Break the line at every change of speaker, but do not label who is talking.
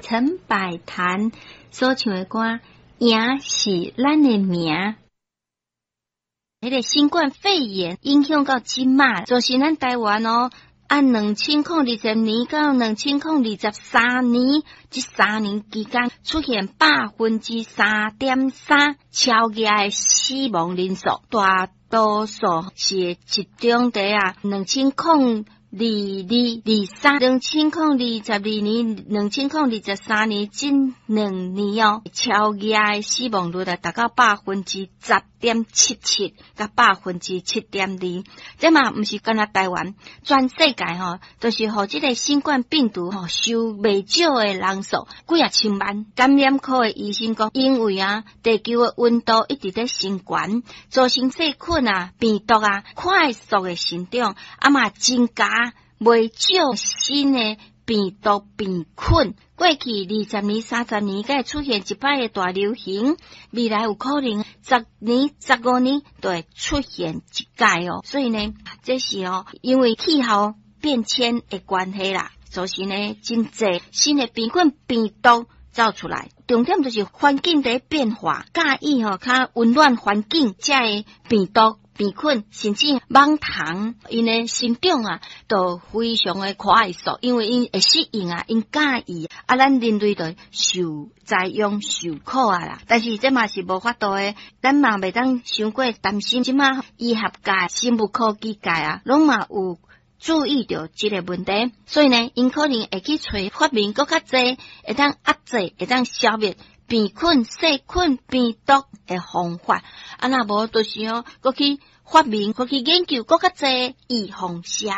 陳百潭所唱的歌《贏是咱的名》。彼个新冠肺炎影響到這馬，就是咱台灣哦。按2020年到2023年，這3年期間出現3.3%超額的死亡人數，大多數是集中佇啊2022、23、2022年、2023年這2年哦，超額的死亡率啊，達到10.77%佮7.2%。這嘛毋是干焦台灣，全世界吼，都是予這个新冠病毒吼受袂少的人數，幾仔千萬。感染科的醫生講，因為啊，地球的溫度一直咧升懸，造成細菌啊、病毒啊快速的成長，啊嘛增加袂少新的病毒病菌。過去20年、30年，才會出現一擺的大流行，未來有可能10年、15年就會出現一擺哦。所以呢，這是哦，因為氣候變遷的關係啦，造成呢真濟新的病菌、病毒走出來。重點就是環境佇變化，佮意吼較溫暖環境，才會病毒、病菌甚至蠓蟲，𪜶的生長啊，都非常的快速，因為𪜶會適應啊，𪜶佮意啊，咱人類就受災殃受苦啊啦。但是這嘛是無法度的，咱嘛袂當傷過擔心。這馬醫學界、生物科技界啊，攏嘛有注意著這個問題，所以呢，𪜶可能會去揣發明閣較濟，會當壓制、會當消滅病菌、細菌、病毒的方法。啊，若無就是哦，閣去發明、閣去研究閣較濟預防射。